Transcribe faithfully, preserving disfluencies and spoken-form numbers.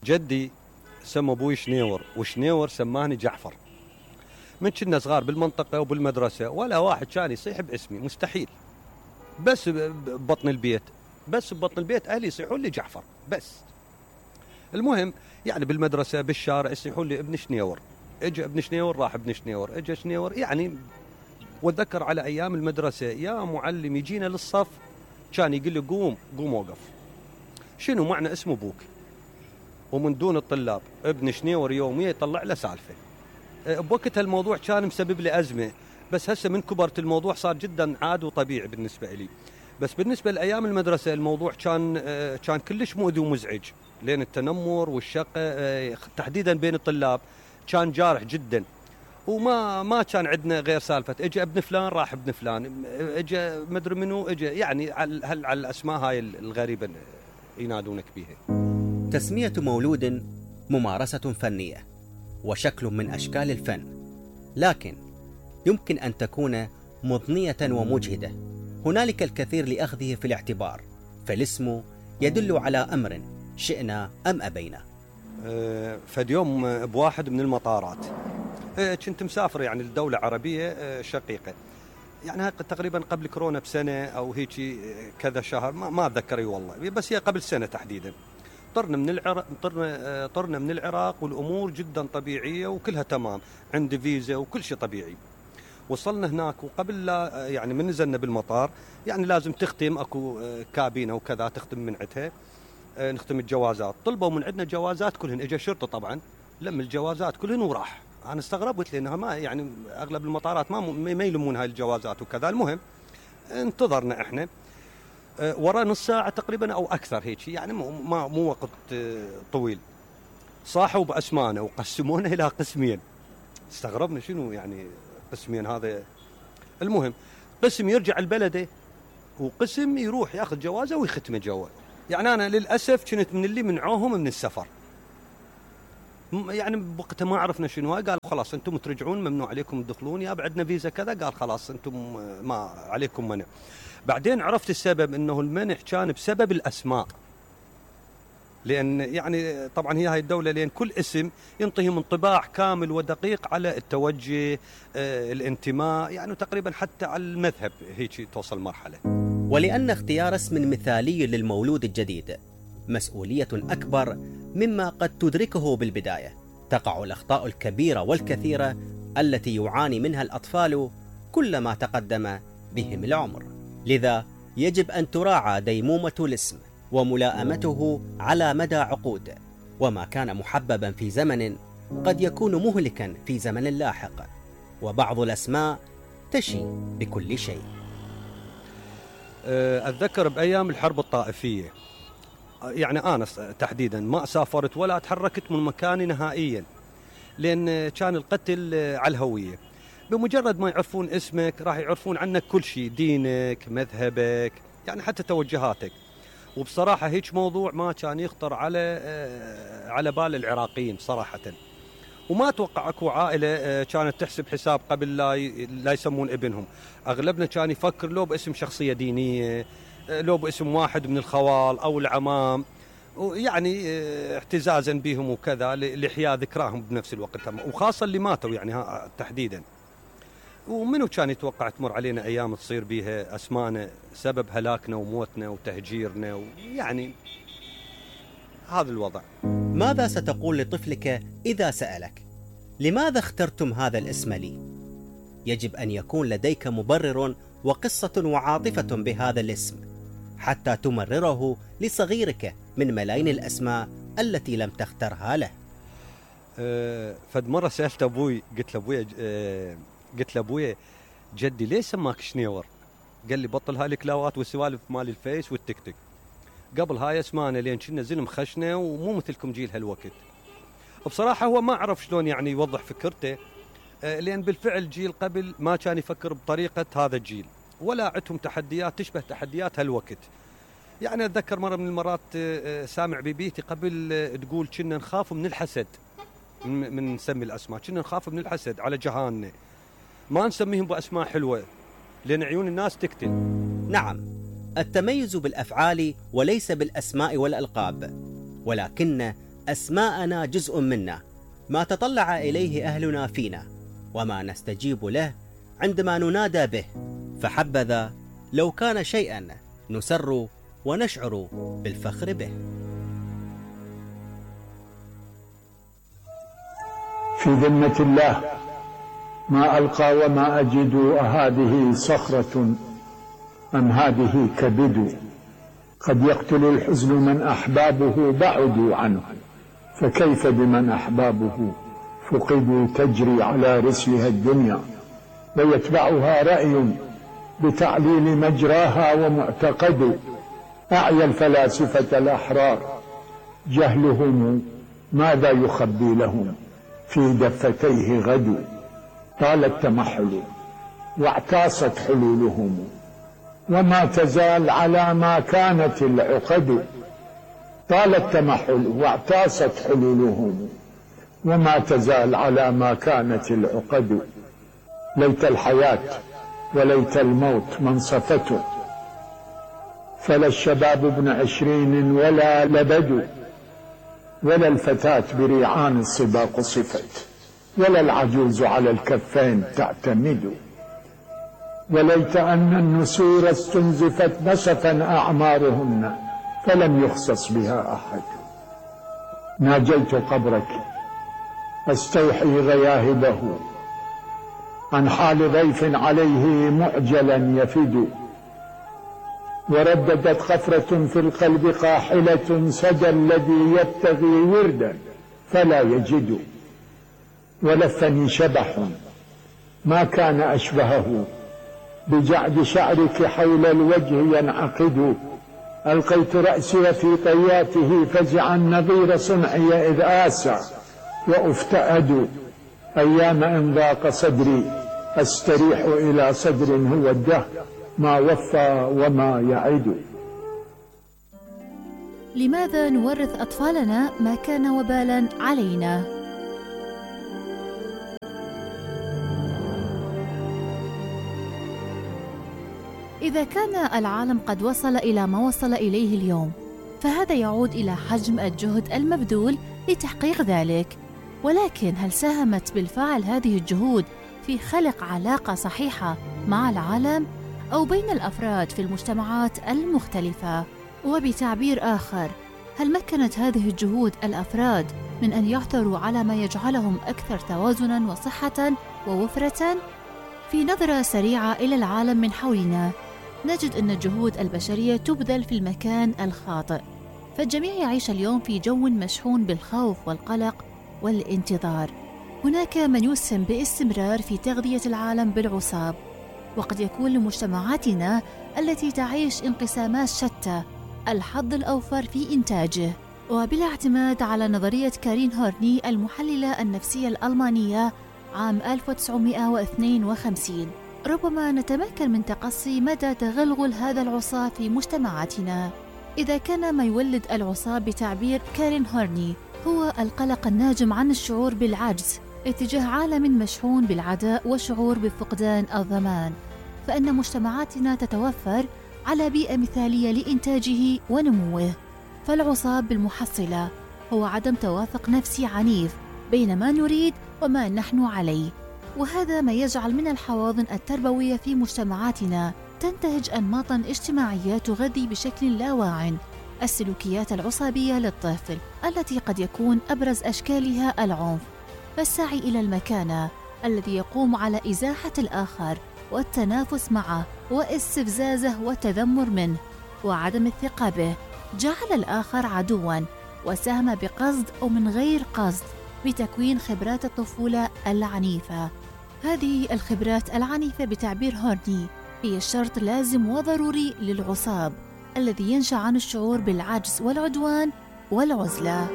جدي سمى ابوي شنيور، وشنيور سماني جعفر. من كنا صغار بالمنطقة وبالمدرسة ولا واحد كان يصيح باسمي، مستحيل. بس ببطن البيت بس ببطن البيت أهلي يصيحون لي جعفر بس. المهم يعني بالمدرسة بالشارع يصيحون لي ابن شنيور، اجى ابن شنيور راح ابن شنيور، اجى شنيور يعني. واتذكر على أيام المدرسة يا معلم يجينا للصف كان يقول لي قوم قوم وقف، شنو معنى اسم ابوك؟ ومن دون الطلاب ابن شنيور يوميا يطلع له سالفة. بوقتها الموضوع كان مسبب لي أزمة، بس هسه من كبرت الموضوع صار جدا عادي وطبيعي بالنسبة لي. بس بالنسبة لأيام المدرسة الموضوع كان كان كلش مؤذي ومزعج، لأن التنمر والشقة تحديدا بين الطلاب كان جارح جدا. وما ما كان عندنا غير سالفة اجى ابن فلان راح ابن فلان، اجى مدري منو اجى، يعني على على الأسماء هاي الغريبة ينادونك بيها. تسمية مولود ممارسة فنية وشكل من أشكال الفن، لكن يمكن أن تكون مضنية ومجهدة. هنالك الكثير لأخذه في الاعتبار، فالاسم يدل على أمر شئنا أم أبينا. أه فد يوم بواحد من المطارات أه كنت مسافر يعني لدولة عربية أه شقيقة، يعني تقريبا قبل كورونا بسنة أو هيك كذا شهر، ما, ما أتذكر والله، بس هي قبل سنة تحديدا. طرنا من العراق طرنا طرنا من العراق والامور جدا طبيعيه وكلها تمام، عندي فيزا وكل شيء طبيعي. وصلنا هناك وقبل لا يعني من نزلنا بالمطار يعني لازم تختم اكو كابينه وكذا تختم من عندها، نختم الجوازات. طلبوا من عندنا جوازات كلهن، اجى شرطه طبعا لم الجوازات كلهن وراح. انا استغربت لانها ما يعني اغلب المطارات ما ما يلمون هاي الجوازات وكذا. المهم انتظرنا احنا ورا نص ساعة تقريبا أو أكثر هيك، يعني مو مو وقت طويل. صاحوا بأسمانا وقسمونا إلى قسمين. استغربنا شنو يعني قسمين هذا. المهم قسم يرجع البلده وقسم يروح ياخذ جوازه ويختمه جوا. يعني أنا للأسف كنت من اللي منعوهم من السفر، يعني بوقتها ما عرفنا شنو. قال خلاص أنتم ترجعون، ممنوع عليكم تدخلون، يا بعدنا فيزا كذا. قال خلاص أنتم ما عليكم منع. بعدين عرفت السبب انه المنع كان بسبب الاسماء، لان يعني طبعا هي هاي الدوله لان كل اسم ينطيهم انطباع كامل ودقيق على التوجه آه الانتماء، يعني تقريبا حتى على المذهب هيك توصل مرحله. ولان اختيار اسم مثالي للمولود الجديد مسؤوليه اكبر مما قد تدركه بالبدايه، تقع الاخطاء الكبيره والكثيره التي يعاني منها الاطفال كلما تقدم بهم العمر. لذا يجب أن تراعى ديمومة الاسم وملائمته على مدى عقود، وما كان محببا في زمن قد يكون مهلكا في زمن لاحق، وبعض الأسماء تشي بكل شيء. أتذكر بأيام الحرب الطائفية، يعني أنا تحديدا ما سافرت ولا تحركت من مكاني نهائيا، لأن كان القتل على الهوية. بمجرد ما يعرفون اسمك راح يعرفون عنك كل شيء، دينك، مذهبك، يعني حتى توجهاتك. وبصراحة هيك موضوع ما كان يخطر على على بال العراقيين صراحة. وما أتوقع أكو عائلة كانت تحسب حساب قبل لا لا يسمون ابنهم. أغلبنا كان يفكر لو باسم شخصية دينية، لو باسم واحد من الخوال أو العمام، يعني اعتزازا بهم وكذا لإحياء ذكراهم بنفس الوقت، وخاصة اللي ماتوا يعني تحديدا. ومنو كان يتوقع تمر علينا أيام تصير بيها أسمانا سبب هلاكنا وموتنا وتهجيرنا، ويعني هذا الوضع. ماذا ستقول لطفلك إذا سألك لماذا اخترتم هذا الاسم لي؟ يجب أن يكون لديك مبرر وقصة وعاطفة بهذا الاسم حتى تمرره لصغيرك من ملايين الأسماء التي لم تخترها له. أه فد مرة سألت أبوي، قلت له أبوي أه قلت له أبوي جدي ليش سماك شنيور؟ قال لي بطل هاي الكلاوات والسوالف مال الفيس والتيك توك، قبل هاي اسمانا لين كنا زلم خشنا ومو مثلكم جيل هالوقت. بصراحة هو ما عرف شلون يعني يوضح فكرته، أه لأن بالفعل جيل قبل ما كان يفكر بطريقة هذا الجيل، ولا عندهم تحديات تشبه تحديات هالوقت. يعني أتذكر مرة من المرات أه سامع ببيتي قبل أه تقول كنا نخاف من الحسد، من, من نسمي الأسماء كنا نخاف من الحسد على جهاننا، ما نسميهم بأسماء حلوة لأن عيون الناس تقتل. نعم، التميز بالأفعال وليس بالأسماء والألقاب، ولكن أسماءنا جزء منا، ما تطلع إليه أهلنا فينا، وما نستجيب له عندما ننادى به، فحبذا لو كان شيئا نسر ونشعر بالفخر به. في ذمة الله ما ألقى وما أجد، أهذه صخرة أم هذه كبد؟ قد يقتل الحزن من أحبابه بعدوا عنه، فكيف بمن أحبابه فقدوا؟ تجري على رسلها الدنيا ويتبعها رأي بتعليل مجراها ومعتقد. أعيا الفلاسفة الأحرار جهلهم ماذا يخبي لهم في دفتيه غد. طال التمحل واعتاصت حلولهم، وما تزال على ما كانت العقد. طال التمحل واعتاصت حلولهم، وما تزال على ما كانت العقد. ليت الحياة وليت الموت منصفة، فلا الشباب ابن عشرين ولا لبد، ولا الفتاة بريعان الصبا قصفت، ولا العجوز على الكفين تعتمد. وليت أن النسور استنزفت نسفا أعمارهن، فلم يخصص بها أحد. ناجيت قبرك أستوحي غياهبه، عن حال ضيف عليه معجلا يفد. ورددت خفرة في القلب قاحلة، سدى الذي يبتغي وردا فلا يجد. ولفني شبح ما كان أشبهه، بجعد شعرك حول الوجه ينعقد. ألقيت رأسي في طياته فزعا، نظير صنعي إذ آسى وأفتأد. أيام إن ضاق صدري أستريح إلى صدر هو الدهر ما وفى وما يعد. لماذا نورث أطفالنا ما كان وبالا علينا؟ إذا كان العالم قد وصل إلى ما وصل إليه اليوم، فهذا يعود إلى حجم الجهد المبذول لتحقيق ذلك. ولكن هل ساهمت بالفعل هذه الجهود في خلق علاقة صحيحة مع العالم أو بين الأفراد في المجتمعات المختلفة؟ وبتعبير آخر، هل مكنت هذه الجهود الأفراد من أن يعثروا على ما يجعلهم أكثر توازناً وصحة ووفرة؟ في نظرة سريعة إلى العالم من حولنا نجد أن الجهود البشرية تبذل في المكان الخاطئ، فالجميع يعيش اليوم في جو مشحون بالخوف والقلق والانتظار. هناك من يسهم باستمرار في تغذية العالم بالعصاب، وقد يكون لمجتمعاتنا التي تعيش انقسامات شتى الحظ الأوفر في إنتاجه. وبلا اعتماد على نظرية كارين هورني المحللة النفسية الألمانية عام ألف وتسعمائة واثنين وخمسين، ربما نتمكن من تقصي مدى تغلغل هذا العصاب في مجتمعاتنا. إذا كان ما يولد العصاب بتعبير كارين هورني هو القلق الناجم عن الشعور بالعجز اتجاه عالم مشحون بالعداء وشعور بفقدان الضمان، فإن مجتمعاتنا تتوفر على بيئة مثالية لإنتاجه ونموه. فالعصاب بالمحصلة هو عدم توافق نفسي عنيف بين ما نريد وما نحن عليه، وهذا ما يجعل من الحواضن التربوية في مجتمعاتنا تنتهج أنماطاً اجتماعية تغذي بشكل لا واع السلوكيات العصابية للطفل، التي قد يكون أبرز أشكالها العنف، فالسعي إلى المكانة الذي يقوم على إزاحة الآخر والتنافس معه واستفزازه والتذمر منه وعدم الثقة به، جعل الآخر عدواً، وساهم بقصد أو من غير قصد بتكوين خبرات الطفولة العنيفة. هذه الخبرات العنيفة بتعبير هورني هي شرط لازم وضروري للعصاب الذي ينشأ عن الشعور بالعجز والعدوان والعزلة.